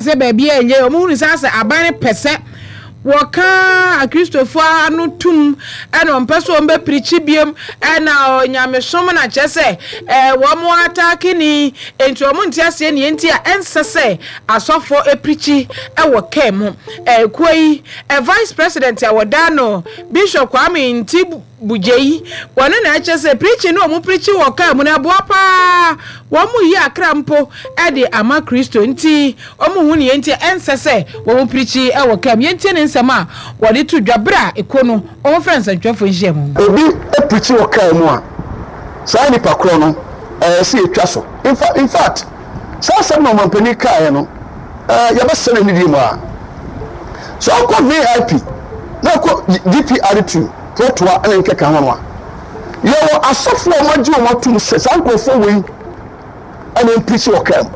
Sɛ baabi a ɛnyɛ, wɔhunu sɛ asɛ aban no pɛ sɛ wɔka Akristofoɔ ano tum, ɛna wɔmpɛ sɛ wɔbɛpirikyi biom, ɛna nyamesom na kyerɛ sɛ ɛɛ wɔn ataake ni, enti wɔn nte aseɛ nea enti a ɛnsɛ sɛ asɔfoɔ pirikyi wɔ kaa mu. Ɛkuo yi vice president a wɔda no Bishop Kwame Nti Bugyei, wɔno na ɛkyerɛ sɛ preaching no a wɔn preachi wɔ car mu no ɛboa paa, wɔn yi akra mpo de ama Kristo nti wɔn hu nea nti a ɛnsɛ sɛ wɔn preachi wɔ car mu. Yɛntie ne nsɛm a wɔde to dwa bere a ekuo no wɔn frɛ nsɛntwerɛfoɔ nhyiamu. Obi preachi wɔ car mu a, saa nipa korɔ no ɛyɛ sɛ yɛtwa so. In fact, saa asɛm na ɔmampanin kaeɛ no, yɛbɛsɛ no anidie mu ara. Sɛ wokɔ VIP na wokɔ GPR2, toatoa ne nkeka ho no a, yɛwɔ asɔfoɔ a wɔagye wɔn atom sɛ saa nkurɔfoɔ wei ɛna mpirikyi wɔ kaa mu.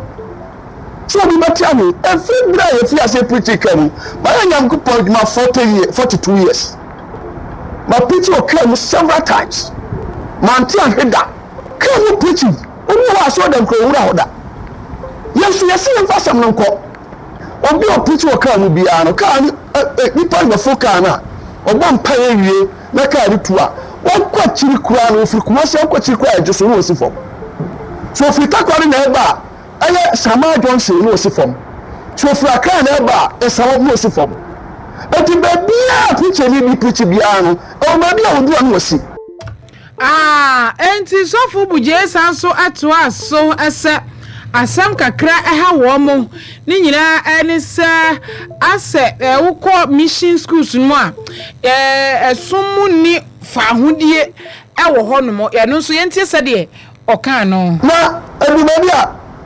Sɛ obi bɛte aho, ɛfiri berɛ a yɛfiri aseɛ pirikyi kaa mu, mayɛ Nyankopɔn adwuma 40 years, 42 years. Mapirikyi wɔ kaa mu several times. Mante ahwe da. Kaa mu pirikyi, obi wɔ hɔ asɔre dɛm kura owura hɔ da. Yɛn nso yɛsi yɛmfa asɛm no nkɔ. Obi a ɔpirikyi wɔ kaa mu biara no, kaa no ɛ ɛ nipa no bɛforo kaa no a, ɔbɔ mpaeɛ wie na kaa no tu a, wakɔ akyiri koraa no, ɔfiri Kumasi akɔ akyiri koraa a ɛgye so na ɔsi fam. So ɔfiri Takoradi na ɛba a, ɛyɛ Samaa Junction na ɔsi fam. So ɔfiri Accra na ɛba a, Nsawam na ɔsi fam. Enti baabiara a preacher-ni bi preachi biara no, ɛwɔ baabi a ɔdu a na wasi. Ah, enti Sɔfo Bugyee san so toaa so sɛ, Asɛm kakra ɛha wɔn, ne nyinaa ne sɛ asɛ wokɔ mission schools no mu a, ɛsom mu nni faahodie wɔ hɔnom. Ɛno nso yɛntie sɛdeɛ ɔkaa no. Na ɛdu baabi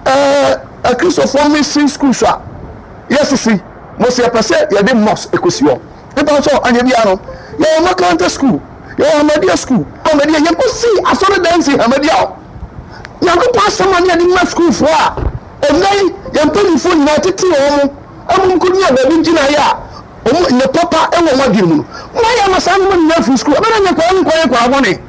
a, Akristofoɔ mission schools a yɛasisi, mo sɛ yɛpɛ sɛ yɛde mosque kɔsi hɔ. Mepa wo kyɛw, anyɛ biara no, yɛwɔ Makaranta school. Yɛwɔ Ahmadiyya sukuu. Ahmadiyya, yɛkɔsii asɔredan sii Ahmadiyya hɔ. Nyankopɔn asɛm a ne yɛde ma sukuufoɔ a, ɛnnɛ yi, yɛn mpanimfoɔ nyinaa tete wɔn ma wɔn kɔnya baabi gyinaeɛ a wɔn nyɛ papa wɔ wɔn adwene mu no. Moayɛ ama saa nneɛma nyinaa afiri sukuu. Ɛbɛyɛ dɛ nyɛ nkwadaa no nkɔyɛ nkwadaa bɔne.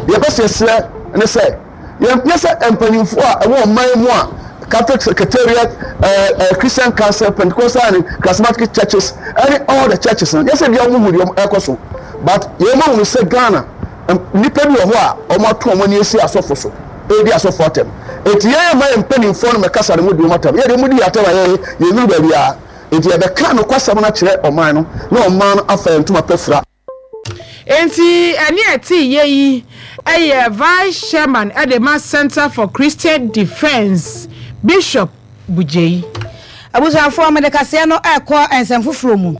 Deɛ yɛpɛ sɛ yɛsrɛ ne sɛ, Yɛmpɛ sɛ mpanyimfo a ɛwɔ ɔman mu a Catholic Secretariat, eh, eh, Christian Council, Pentecostal and Charismatic churches, ɛne all the churches no, nyɛ sɛ bia wɔn hu deɛ ɛkɔ so, but yɛn ma wɔn sɛ Ghana nnipa bi wɔ hɔ a wɔn ato wɔn ani asi asɔfo so, ɛredi asɔfo atɛm. Eti yɛn mma yɛn mpanimfoɔ no mɛkasa no mu di wɔn atɛm. Yɛ deɛ wɔn di yɛn atɛm a yɛn yɛn nuru baabi a. Eti yɛbɛka nokwasɛm no akyerɛ ɔman no na ɔman no afa yɛn ntoma pɛ fira. Enti ɛne ɛte yɛ yi yɛ Vice Chairman de ma Centre for Christian Defence, Bishop Bugyei. Abusuafoɔ, mede kaseɛ no rekɔ nsɛm foforɔ mu.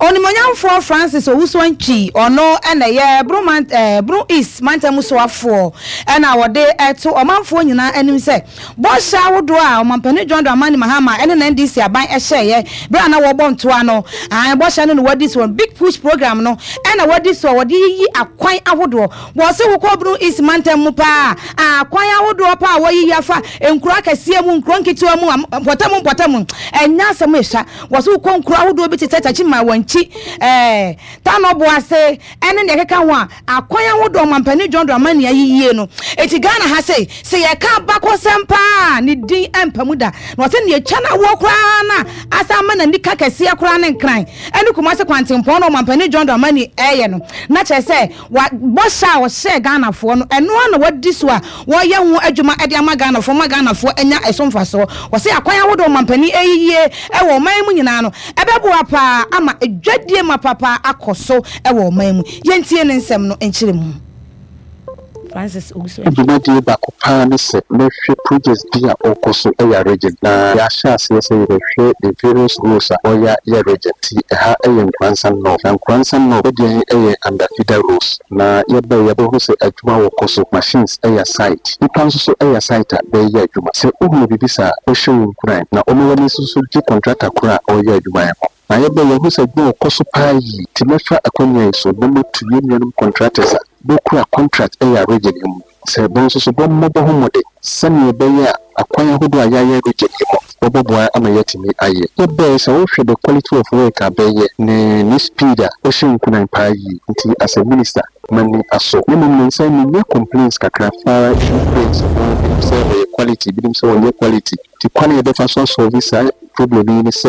Onimuonyamfoɔ Francis Owusu-Antwi, ɔno na ɛyɛ Bono man eh, Bono East mantam mu soafoɔ, ɛna wɔde to ɔmanfoɔ nyinaa anim sɛ Bɔhyɛ ahodoɔ a Ɔmampanin John Dramani Mahama ne n'NDC aban hyɛeɛ berɛ a na wɔrebɔ ntoa no, aane, bɔhyɛ no na wɔadi soɔ. Big Push Program no na wɔadi soɔ, wɔde yiyi akwan ahodoɔ. Wɔse wokɔ Brong East mantam mu paa a, akwan ahodoɔ paa a wɔayiyi afa nkuro akɛseɛ mu, nkuro nketewa mu, mpɔtam mpɔtam, ɛnyɛ asɛm ɛsua. Wɔse wokɔ nkuro ahodoɔ bi te sɛ Techiman, Wankyi, ɛɛ, Tanoboase, ne nea ɛkeka ho a akwan ahodoɔ ɔmampanin John Dramani ayiyie no. Enti Ghana ha sei, sɛ yɛka abakɔsɛm paa a, ne din mpa mu da. Na ɔsɛ nea ɛtwa no awoɔ koraa no a asan ama n'ani ka kɛseɛ koraa ne Nkran ne Kumasi kwantempɔn no ɔmampanin John Dramani reyɛ no. Na kyerɛ sɛ wa bɔhyɛ a ɔhyɛɛ Ghanafoɔ no, ɛno ara na wadi so a wɔreyɛ ho adwuma de ama Ghanafoɔ ma Ghanafoɔ anya ɛso mfasoɔ. Ɔsɛ akwan ahodoɔ ɔmampanin reyiyie wɔ ɔman yi mu nyinaa no, Ɛbɛboa paa ama dwadie mapa paa akɔ so wɔ ɔman mu. Yɛntie ne nsɛm no nkyerɛmu. Francis Owusu Antwi. Dwumadie baako paa ne sɛ mɛhwɛ projects bi a ɔrekɔ so yɛ region na yɛahyɛ aseɛ sɛ yɛbɛhwɛ the various roads a ɔya yɛ region nti ɛha yɛ Nkoranza North na Nkoranza North deɛ yɛ under feeder roads na yɛbae yɛabɛhunu sɛ adwuma wɔ kɔ so machines yɛ site nipa nso so yɛ site a bɛyɛ adwuma sɛ wohunu biribi saa a wohyɛ wo nkuran na wɔma w'ani nso so gye contractor korɔ a ɔreyɛ adwuma yi ho. Na yɛbɛ yɛhu sɛ adwuma ɔkɔ so paa yie nti mɛfa akwanya yi so na matu yɛn nuanom contractors a bɛkura contract yɛ region yi mu sɛ bɔ nso so bɔmmɔ bɔ ho mmɔden sɛdeɛ ɛbɛyɛ a akwan ahodoɔ a yɛayɛ region yi mu bɔbɔboa ama yɛatumi ayɛ. Yɛbɛɛ sɛ wohwɛ the quality of work a bɛyɛ ne ne speed a ɔhyɛ nkuran paa yie nti as a minister m'ani asɔ. Na mmom nansa yi menya complaints kakra fara issue paints ho binom sɛ ɔyɛ quality binom sɛ ɔnyɛ quality nti kwan a yɛbɛfa so asɔlve saa. problem yi ne sɛ.